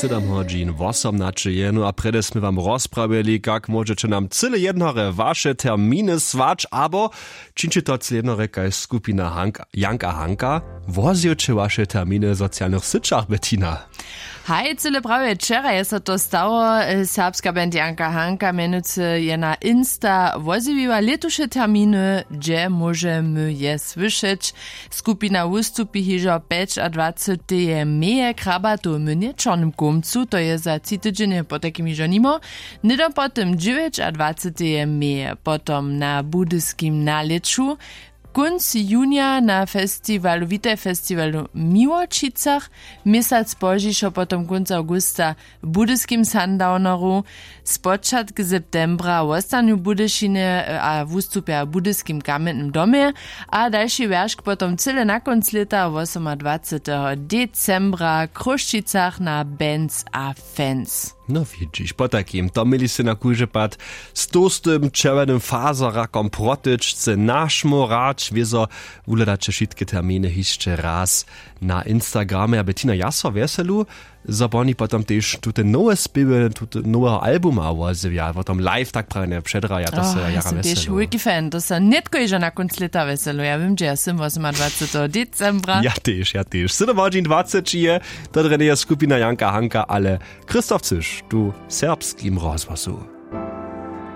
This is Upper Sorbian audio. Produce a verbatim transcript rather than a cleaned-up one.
Sydom hodźin wosomnaće je, no a prjedy smy wam rozprawjeli, kak móžeće nam cyle jednore waše terminy słać abo čińće to cyle jednore kaž skupina Hank, Janka Hanka. Wozjeće waše terminy w socialnych syćach, Bettina? Haj, cyle prawje wčera je so to stało. Serbska band Janka Hanka mjenujcy je na Insta wozjewiła lětuše terminy, hdźe móžemy je słyšeć. Skupina wustupi hižo pjećadwaceteje meje w Krabatowym młynje w Čornym Kołmcu, to je za tři tydźenje potajkim hižo nimo. Hnydom po tym dźewjećadwaceteje meje potom na budyskim nalěću, kónc junija na festiwalu, witaj festiwalu w Miłočicach, měsac pozdźišo potom kónc awgusta w budyskim Sundowneru. Spočatk septembra wostanju w Budyšinje a wustupja w budyskim Kamjennym domje, a dalši wjeršk potom cyle na kónc lěta wosomadwaceteho decembra w Chrósćicach na Bands a Fans. No widźiš, potajkim to měli sej na kóždy pad z tołstym čerwjenym fazerakom protyčce našmołrać wězo. Wuhledaće wšitke terminy hišće raz na Instagramje. A Bettina, ja so wjeselu, zo poni potom tež tute nowe spěwy tute noweho albuma wozjewja potom live tak prawje předraja, to se jara wjeselu. Wulki fan, to se nětko hižo na kónc lěta wjeselu, ja wěm hdźe ja sym wosomadwaceteho decembra. Ja tež, ja tež. Sydom hodźin dwaceći je. To drje njeje skupina Janka Hanka, ale Christoph Cyš tu w Serbskim rozhłosu.